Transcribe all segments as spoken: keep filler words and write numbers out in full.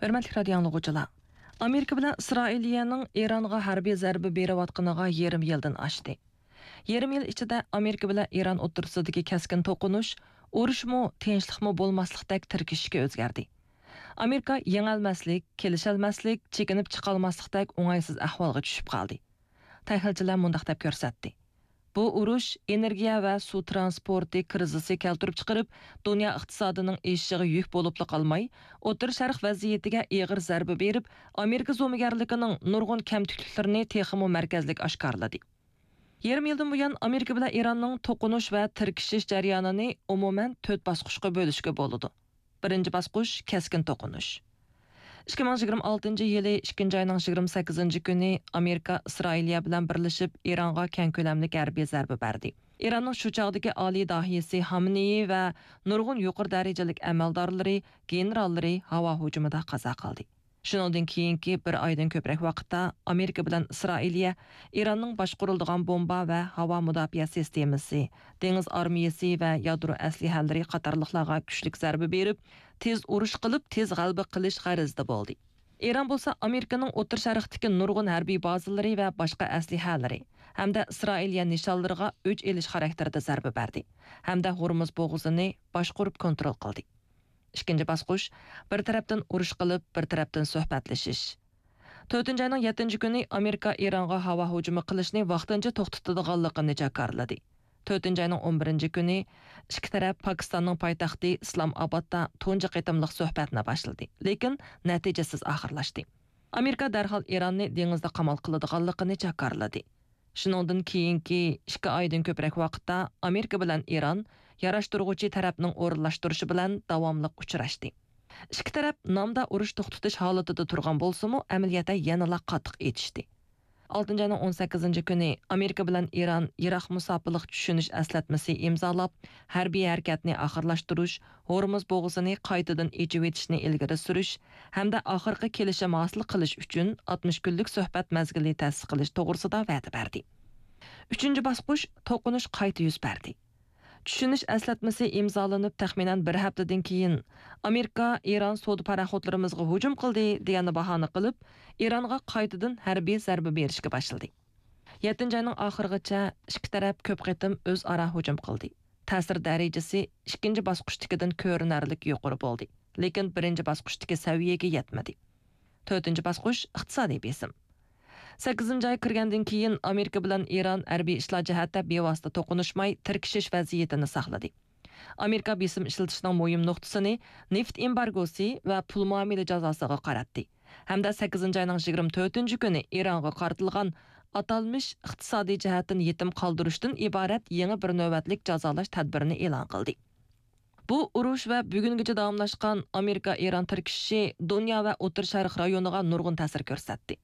ھۆرمەتلىك رادىيو ئاڭلىغۇچىلار! ئامېرىكا بىلەن ئىسرائىلىيەنىڭ ئىرانغا ھەربىي زەربە بېرىۋاتقىنىغا يېرىم يىلدىن ئاشتى. يېرىم يىل ئىچىدە ئامېرىكا بىلەن ئىران ئوتتۇرىسىدىكى كەسكىن توقۇنۇش، ئۇرۇشمۇ، تىنچلىقمۇ بولماسلىقتەك تىركىشىشكە ئۆزگەردى. ئامېرىكا يېڭەلمەسلىك، كېلىشەلمەسلىك، چېكىنىپ چىقالماسلىقتەك ئوڭايسىز ئەھۋالغا چۈشۈپ قالدى. تەھلىلچىلەر مۇنداق دەپ كۆرسەتتى: بۇ ئۇرۇش ئېنېرگىيە ۋە سۇ ترانسپورتى كىرىزىسى كەلتۈرۈپ چىقىرىپ، دۇنيا ئىقتىسادىنىڭ ئېشىشىغا يۈك بولۇپلا قالماي، ئوتتۇرا شەرق ۋەزىيىتىگە ئېغىر زەربە بېرىپ، ئامېرىكا زومىگەرلىكىنىڭ نۇرغۇن كەمتۈكلۈكلىرىنى تېخىمۇ مەركەزلىك ئاشكارىلىدى. يېرىم يىلدىن بۇيان ئامېرىكا بىلەن ئىراننىڭ توقۇنۇش ۋە تىركىشىش جەريانىنى ئومۇمەن تۆت باسقۇچقا بۆلۈشكە بولىدۇ. بىرىنچى باسقۇچ، كەسكىن توقۇنۇش. ئىككى مىڭ يىگىرمە ئالتىنچى يىلى ئىككىنچى ئاينىڭ يىگىرمە سەككىزىنچى كۈنى ئامېرىكا ئىسرائىلىيە بىلەن بىرلىشىپ ئىرانغا كەڭ كۆلەملىك ھەربىي زەربە بەردى. ئىراننىڭ شۇ چاغدىكى ئالىي داھىيسى خامنېيى ۋە نۇرغۇن يۇقىرى دەرىجىلىك ئەمەلدارلىرى، گېنېراللىرى ھاۋا ھۇجۇمىدا قازا قىلدى. شۇنىڭدىن كېيىنكى بىر ئايدىن كۆپرەك ۋاقىتتا ئامېرىكا بىلەن ئىسرائىلىيە ئىراننىڭ باشقۇرۇلىدىغان بومبا ۋە ھاۋا مۇداپىئە سىستېمىسى، دېڭىز ئارمىيەسى ۋە يادرو ئەسلىھەلىرى قاتارلىقلارغا كۈچلۈك زەربە بېرىپ، تېز ئۇرۇش قىلىپ، تېز غەلىبە قىلىش غەرىزىدە بولدى. ئىران بولسا ئامېرىكىنىڭ ئوتتۇرا شەرقتىكى نۇرغۇن ھەربىي بازىلىرى ۋە باشقا ئەسلىھەلىرى ھەمدە ئىسرائىلىيە نىشانلىرىغا ئۆچ ئېلىش خاراكتېرىدە زەربە بەردى ھەمدە ھورمۇز بوغۇزىنى باشقۇرۇپ كونترول قىلدى. ئىككىنچى باسقۇچ، بىر تەرەپتىن ئۇرۇش قىلىپ، بىر تەرەپتىن سۆھبەتلىشىش. تۆتىنچى ئاينىڭ يەتتىنچى كۈنى ئامېرىكا ئىرانغا ھاۋا ھۇجۇمى قىلىشنى ۋاقتىنچە توختىتىدىغانلىقىنى جاكارلىدى. تۆتىنچى ئاينىڭ ئون بىرىنچى كۈنى ئىككى تەرەپ پاكىستاننىڭ پايتەختى ئىسلام ئابادتا تۇنجى قېتىملىق سۆھبەتنى باشلىدى، لېكىن نەتىجىسىز ئاخىرلاشتى. ئامېرىكا دەرھال ئىراننى دېڭىزدا قامال قىلىدىغانلىقىنى جاكارلىدى. شۇنىڭدىن كېيىنكى ئىككى ئايدىن كۆپرەك ۋاقىتتا ئامېرىكا بىلەن ئىران ياراشتۇرغۇچى تەرەپنىڭ ئورۇنلاشتۇرۇشى بىلەن داۋاملىق ئۇچراشتى. ئىككى تەرەپ نامدا ئۇرۇش توختىتىش ھالىتىدە تۇرغان بولسىمۇ، ئەمەلىيەتتە يەنىلا قاتتىق ئېتىشتى. ئالتىنچى ئاينىڭ ئون سەككىزىنچى كۈنى ئامېرىكا بىلەن ئىران يىراق مۇساپىلىق چۈشىنىش ئەسلەتمىسى ئىمزالاپ، ھەربىي ھەرىكەتنى ئاخىرلاشتۇرۇش، ھورمۇز بوغۇزىنى قايتىدىن ئېچىۋېتىشنى ئىلگىرى سۈرۈش ھەمدە ئاخىرقى كېلىشىم ھاسىل قىلىش ئۈچۈن ئاتمىش كۈنلۈك سۆھبەت مەزگىلى تەسىس قىلىش توغرىسىدا ۋەدە بەردى. ئۈچىنچى باسقۇچ، توقۇنۇش قايتا يۈز بەردى. چۈشىنىش ئەسلەتمىسى ئىمزالىنىپ تەخمىنەن بىر ھەپتىدىن كېيىن، ئامېرىكا ئىران سودا پاراخوتلىرىمىزغا ھۇجۇم قىلدى دېگەننى باھانە قىلىپ، ئىرانغا قايتىدىن ھەربىي زەربە بېرىشكە باشلىدى. يەتتىنچى ئاينىڭ ئاخىرىغىچە ئىككى تەرەپ كۆپ قېتىم ئۆزئارا ھۇجۇم قىلدى. تەسىر دەرىجىسى ئىككىنچى باسقۇچتىكىدىن كۆرۈنەرلىك يۇقىرى بولدى، لېكىن بىرىنچى باسقۇچتىكى سەۋىيەگە يەتمىدى. تۆتىنچى باسقۇچ، ئىقتىسادىي بېسىم. سەككىزىنچى ئاي كىرگەندىن كېيىن، ئامېرىكا بىلەن ئىران ھەربىي ئىشلار جەھەتتە بىۋاسىتە توقۇنۇشماي، تىركىشىش ۋەزىيىتىنى ساقلىدى. ئامېرىكا بېسىم ئىشلىتىشنىڭ مۇھىم نۇقتىسىنى نېفىت ئېمبارگوسى ۋە پۇل مۇئامىلە جازاسىغا قاراتتى ھەمدە سەككىزىنچى ئاينىڭ يىگىرمە تۆتىنچى كۈنى ئىرانغا قارىتىلغان ئاتالمىش ئىقتىسادىي جەھەتتىن يېتىم قالدۇرۇشتىن ئىبارەت يېڭى بىر نۆۋەتلىك جازالاش تەدبىرىنى ئېلان قىلدى. بۇ ئۇرۇش ۋە بۈگۈنگىچە داۋاملاشقان ئامېرىكا-ئىران تىركىشىشى دۇنيا ۋە ئوتتۇرا شەرق رايونىغا نۇرغۇن تەسىر كۆرسەتتى.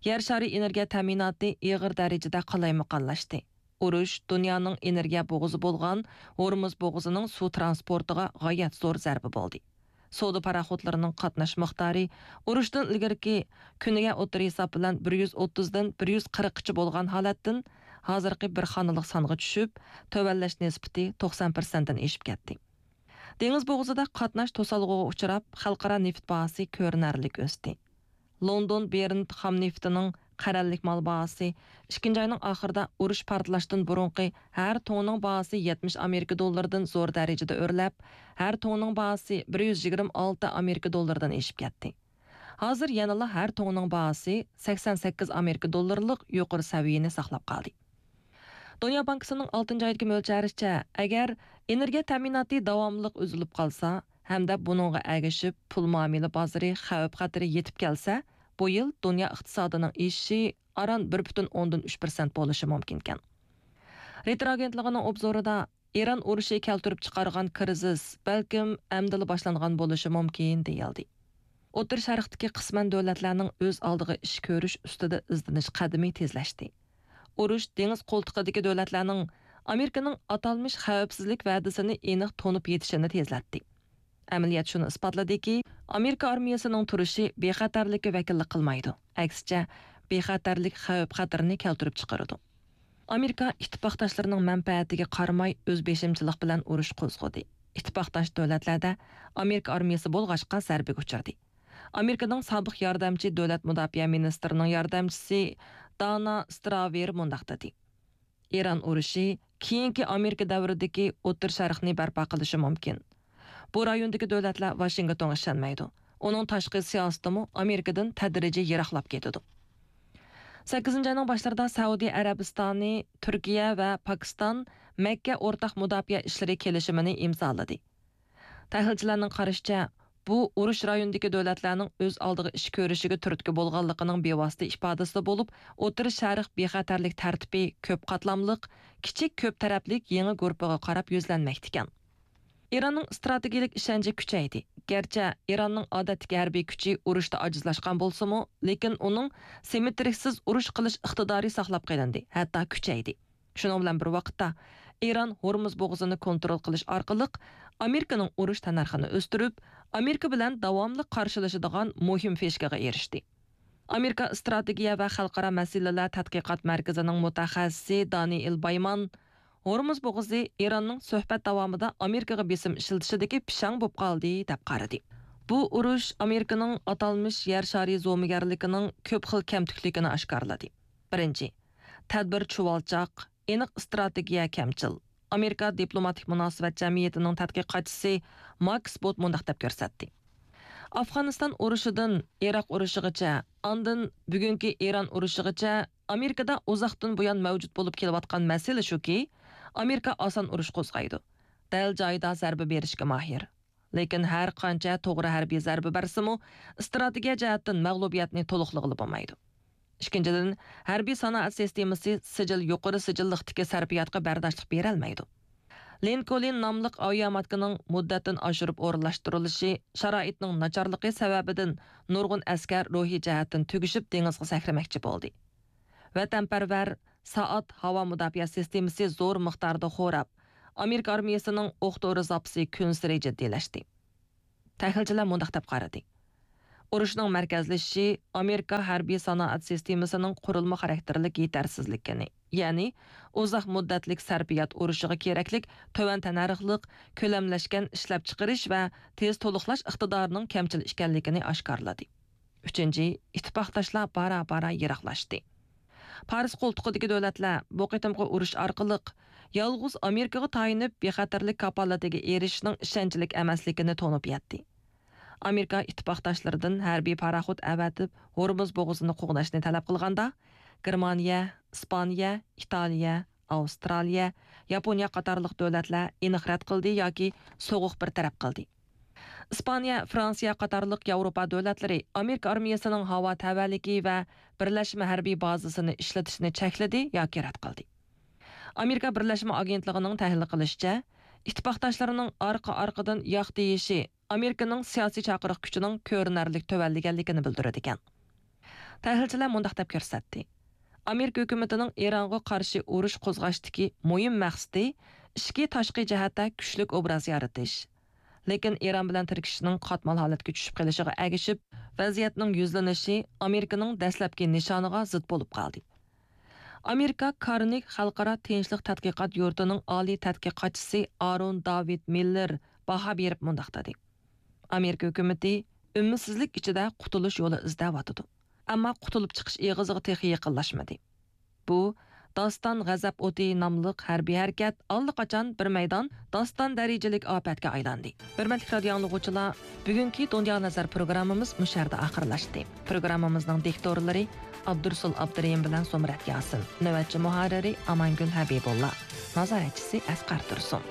يەر شارى ئېنېرگىيە تەمىناتى ئېغىر دەرىجىدە قالايمىقانلاشتى. ئۇرۇش دۇنيانىڭ ئېنېرگىيە بوغۇزى بولغان ھورمۇز بوغۇزىنىڭ سۇ ترانسپورتىغا غايەت زور زەربە بولدى. سودا پاراخوتلىرىنىڭ قاتناش مىقدارى ئۇرۇشتىن ئىلگىرىكى كۈنىگە ئوتتۇرا ھېساب بىلەن بىر يۈز ئوتتۇزدىن بىر يۈز قىرىققىچە بولغان ھالەتتىن، ھازىرقى بىر خانىلىق سانغا چۈشۈپ، تۆۋەنلەش نىسبىتى توقسان پىرسەنتتىن ئېشىپ كەتتى. دېڭىز بوغۇزىدا قاتناش توسالغۇغا ئۇچراپ، خەلقئارا نېفىت باھاسى كۆرۈنەرلىك ئۆستى. لوندون برېنت خام نېفىتىنىڭ قەرەللىك مال باھاسى ئىككىنچى ئاينىڭ ئاخىرىدا ئۇرۇش پارتلاشتىن بۇرۇنقى ھەر توننىنىڭ باھاسى يەتمىش ئامېرىكا دوللىرىدىن زور دەرىجىدە ئۆرلەپ، ھەر توننىڭ باھاسى بىر يۈز يىگىرمە ئالتە ئامېرىكا دوللىرىدىن ئېشىپ كەتتى. ھازىر يەنىلا ھەر توننىڭ باھاسى سەكسەن سەككىز ئامېرىكا دوللىرىلىق يۇقىرى سەۋىيەنى ساقلاپ قالدى. دۇنيا بانكىسىنىڭ ئالتىنچى ئايدىكى مۆلچەرىچە، ئەگەر ئېنېرگىيە تەمىناتى داۋاملىق ئۈزۈلۈپ قالسا ھەمدە بۇنىڭغا ئەگىشىپ پۇل مۇئامىلە بازىرى خەۋپ خەتىرى يېتىپ كەلسە، بۇ يىل دۇنيا ئىقتىسادىنىڭ ئېشىشى ئاران بىر پۈتۈن ئوندىن ئۈچ پىرسەنت بولۇشى مۇمكىنكەن. رېترو ئاگېنتلىقىنىڭ ئوبزورىدا، ئىران ئۇرۇشى كەلتۈرۈپ چىقارغان كىرىزىس بەلكىم ئەمدىلا باشلانغان بولۇشى مۇمكىن، دېيىلدى. ئوتتۇرا شەرقتىكى قىسمەن دۆلەتلەرنىڭ ئۆز ئالدىغا ئىش كۆرۈش ئۈستىدە ئىزدىنىش قەدىمى تېزلەشتى. ئۇرۇش دېڭىز قولتۇقىدىكى دۆلەتلەرنىڭ ئامېرىكىنىڭ ئاتالمىش خەۋپسىزلىك ۋەدىسىنى ئېنىق تونۇپ يېتىشىنى تېزلەتتى. ئەمەلىيەت شۇنى ئىسپاتلىدىكى، ئامېرىكا ئارمىيەسىنىڭ تۇرۇشى بىخەتەرلىككە ۋەكىللىك قىلمايدۇ، ئەكسىچە، بىخەتەرلىك خەۋپ خەتىرىنى كەلتۈرۈپ چىقىرىدۇ. ئامېرىكا ئىتتىپاقداشلىرىنىڭ مەنپەئەتىگە قارىماي ئۆز بېشىمچىلىق بىلەن ئۇرۇش قوزغىدى. ئىتتىپاقداش دۆلەتلەردە ئامېرىكا ئارمىيەسى بولغاچقا زەربىگە ئۇچرىدى. ئامېرىكىنىڭ سابىق ياردەمچى دۆلەت مۇداپىئە مىنىستىرىنىڭ ياردەمچىسى دانا ستراۋېر مۇنداق دېدى: ئىران ئۇرۇشى كېيىنكى ئامېرىكا دەۋرىدىكى ئوتتۇرا شەرقنى بەرپا قىلىشى مۇمكىن. بۇ رايوندىكى دۆلەتلەر ۋاشىنگتونغا ئىشەنمەيدۇ. ئۇنىڭ تاشقى سىياسىتىمۇ ئامېرىكىدىن تەدرىجىي يىراقلاپ كېتىدۇ. سەككىزىنچى ئاينىڭ باشلىرىدا سەئۇدى ئەرەبىستانى، تۈركىيە ۋە پاكىستان مەككە ئورتاق مۇداپىئە ئىشلىرى كېلىشىمىنى ئىمزالىدى. تەھلىلچىلەرنىڭ قارىشىچە، بۇ ئۇرۇش رايونىدىكى دۆلەتلەرنىڭ ئۆز ئالدىغا ئىش كۆرۈشىگە تۈرتكە بولغانلىقىنىڭ بىۋاسىتە ئىپادىسى بولۇپ، ئوتتۇرا شەرق بىخەتەرلىك تەرتىپى كۆپ قاتلاملىق، كىچىك كۆپ تەرەپلىك يېڭى گۇرۇپپىغا قاراپ يۈزلەنمەكتىكەن. ئىراننىڭ ئىستراتېگىيەلىك ئىشەنچى كۈچەيدى. گەرچە ئىراننىڭ ئادەتتىكى ھەربىي كۈچى ئۇرۇشتا ئاجىزلاشقان بولسىمۇ، لېكىن ئۇنىڭ سىممېترىكسىز ئۇرۇش قىلىش ئىقتىدارى ساقلاپ قېلىندى، ھەتتا كۈچەيدى. شۇنىڭ بىلەن بىر ۋاقىتتا، ئىران ھورمۇز بوغۇزىنى كونترول قىلىش ئارقىلىق ئامېرىكىنىڭ ئۇرۇش تەننەرخىنى ئۆستۈرۈپ، ئامېرىكا بىلەن داۋاملىق قارشىلىشىدىغان مۇھىم فىشكىغا ئېرىشتى. ئامېرىكا ئىستراتېگىيە ۋە خەلقئارا مەسىلىلەر تەتقىقات مەركىزىنىڭ مۇتەخەسسىسى دانىئېل بايمان، ھورمۇز بوغۇزى ئىراننىڭ سۆھبەت داۋامىدا ئامېرىكىغا بېسىم ئىشلىتىشىدىكى پىشاڭ بولۇپ قالدى، دەپ قارىدى. بۇ ئۇرۇش ئامېرىكىنىڭ ئاتالمىش يەر شارى زومىگەرلىكىنىڭ كۆپ خىل كەمتۈكلۈكىنى ئاشكارىلىدى. بىرىنچى، تەدبىر چۇۋالچاق، ئېنىق ئىستراتېگىيە كەمچىل. ئامېرىكا دىپلوماتىك مۇناسىۋەت جەمئىيىتىنىڭ تەتقىقاتچىسى ماكس بوت مۇنداق دەپ كۆرسەتتى: ئافغانىستان ئۇرۇشىدىن ئىراق ئۇرۇشىغىچە، ئاندىن بۈگۈنكى ئىران ئۇرۇشىغىچە ئامېرىكىدا ئۇزاقتىن بۇيان مەۋجۇت بولۇپ كېلىۋاتقان مەسىلە شۇكى، ئامېرىكا ئاسان ئۇرۇش قوزغايدۇ. دەل جايىدا زەربە بېرىشكە ماھىر. لېكىن ھەر قانچە توغرا ھەربىي زەربە بەرسىمۇ، ئىستراتېگىيە جەھەتتىن مەغلۇبىيەتنى تولۇقلىغىلى بولمايدۇ. ئىككىنچىدىن، ھەربىي سانائەت سىستېمىسى سىجىل، يۇقىرى سىجىللىقتىكى سەرپىياتقا بەرداشلىق بېرەلمەيدۇ. لىنكولن ناملىق ئاۋىياماتكىنىڭ مۇددەتتىن ئاشۇرۇپ ئورۇنلاشتۇرۇلۇشى شارائىتنىڭ ناچارلىقى سەۋەبىدىن نۇرغۇن ئەسكەر روھىي جەھەتتىن تۈگىشىپ دېڭىزغا سەكرىمەكچى بولدى. ۋەتەنپەرۋەر سائات ھاۋا مۇداپىئە سىستېمىسى زور مىقداردا خوراپ، ئامېرىكا ئارمىيىسىنىڭ ئوق دورا زاپىسى كۈنسېرى جىددىيلەشتى. تەھلىلچىلەر مۇنداق دەپ قارىدى: ئۇرۇشنىڭ مەركەزلىشىشى ئامېرىكا ھەربىي سانائەت سىستېمىسىنىڭ قۇرۇلما خاراكتېرلىك يېتەرسىزلىكىنى، يەنى ئۇزاق مۇددەتلىك سەرپىيات ئۇرۇشىغا كېرەكلىك تۆۋەن تەننەرخلىق، كۆلەملەشكەن ئىشلەپچىقىرىش ۋە تېز تولۇقلاش ئىقتىدارىنىڭ كەمچىل ئىكەنلىكىنى ئاشكارىلىدى. ئۈچىنچى، ئىتتىپاقداشلار بارا-بارا يىراقلاشتى. پارس قولتۇقىدىكى دۆلەتلەر بۇ قېتىمقى ئۇرۇش ئارقىلىق يالغۇز ئامېرىكىغا تايىنىپ بىخەتەرلىك كاپالىتىگە ئېرىشىشنىڭ ئىشەنچلىك ئەمەسلىكىنى تونۇپ يەتتى. ئامېرىكا ئىتتىپاقداشلىرىدىن ھەربىي پاراخوت ئەۋەتىپ ھورمۇز بوغۇزىنى قوغداشنى تەلەپ قىلغاندا، گېرمانىيە، ئىسپانىيە، ئىتالىيە، ئاۋسترالىيە، ياپونىيە قاتارلىق دۆلەتلەر ئېنىق رەت قىلدى ياكى سوغۇق بىر تەرەپ قىلدى. ئىسپانىيە، فرانسىيە قاتارلىق ياۋروپا دۆلەتلىرى ئامېرىكا ئارمىيەسىنىڭ ھاۋا تەۋەلىكى ۋە بىرلەشمە ھەربىي بازىسىنى ئىشلىتىشنى چەكلىدى ياكى رەت قىلدى. ئامېرىكا بىرلەشمە ئاگېنتلىقىنىڭ تەھلىل قىلىشىچە، ئىتتىپاقداشلىرىنىڭ ئارقا-ئارقىدىن ياق دېيىشى ئامېرىكىنىڭ سىياسىي چاقىرىق كۈچىنىڭ كۆرۈنەرلىك تۆۋەنلىگەنلىكىنى بىلدۈرىدىكەن. تەھلىلچىلەر مۇنداق دەپ كۆرسەتتى: ئامېرىكا ھۆكۈمىتىنىڭ ئىرانغا قارشى ئۇرۇش قوزغاشتىكى مۇھىم مەقسىتى ئىچكى، تاشقى جەھەتتە كۈچلۈك ئوبراز يارىتىش. لېكىن ئىران بىلەن تىركىشىشنىڭ قاتمال ھالەتكە چۈشۈپ قېلىشىغا ئەگىشىپ، ۋەزىيەتنىڭ يۈزلىنىشى ئامېرىكىنىڭ دەسلەپكى نىشانىغا زىت بولۇپ قالدى. ئامېرىكا كارنېگى خەلقئارا تىنچلىق تەتقىقات يۇرتىنىڭ ئالىي تەتقىقاتچىسى ئارون داۋىد مىللېر باھا بېرىپ مۇنداق دېدى: ئامېرىكا ھۆكۈمىتى ئۈمىدسىزلىك ئىچىدە قۇتۇلۇش يولى ئىزدەۋاتىدۇ. ئەمما قۇتۇلۇپ چىقىش ئېغىزىغا تېخى يېقىنلاشمىدى. بۇ داستان غەزەپ ئوتى ناملىق ھەربىي ھەرىكەت ئاللىقاچان بىر مەيدان داستان دەرىجىلىك ئاپەتكە ئايلاندى. ھۆرمەتلىك رادىيو ئاڭلىغۇچىلار، بۈگۈنكى دۇنيا نەزەر پروگراممىمىز مۇشۇ يەردە ئاخىرلاشتى. پروگراممىمىزنىڭ دىكتورلىرى ئابدۇرۇسۇل ئابدۇرېھىم بىلەن زۇمرەت ياسىن، نۆۋەتچى مۇھەررىرى ئامانگۈل ھەبىبۇللا، نازارەتچىسى ئەسقەر تۇرسۇن.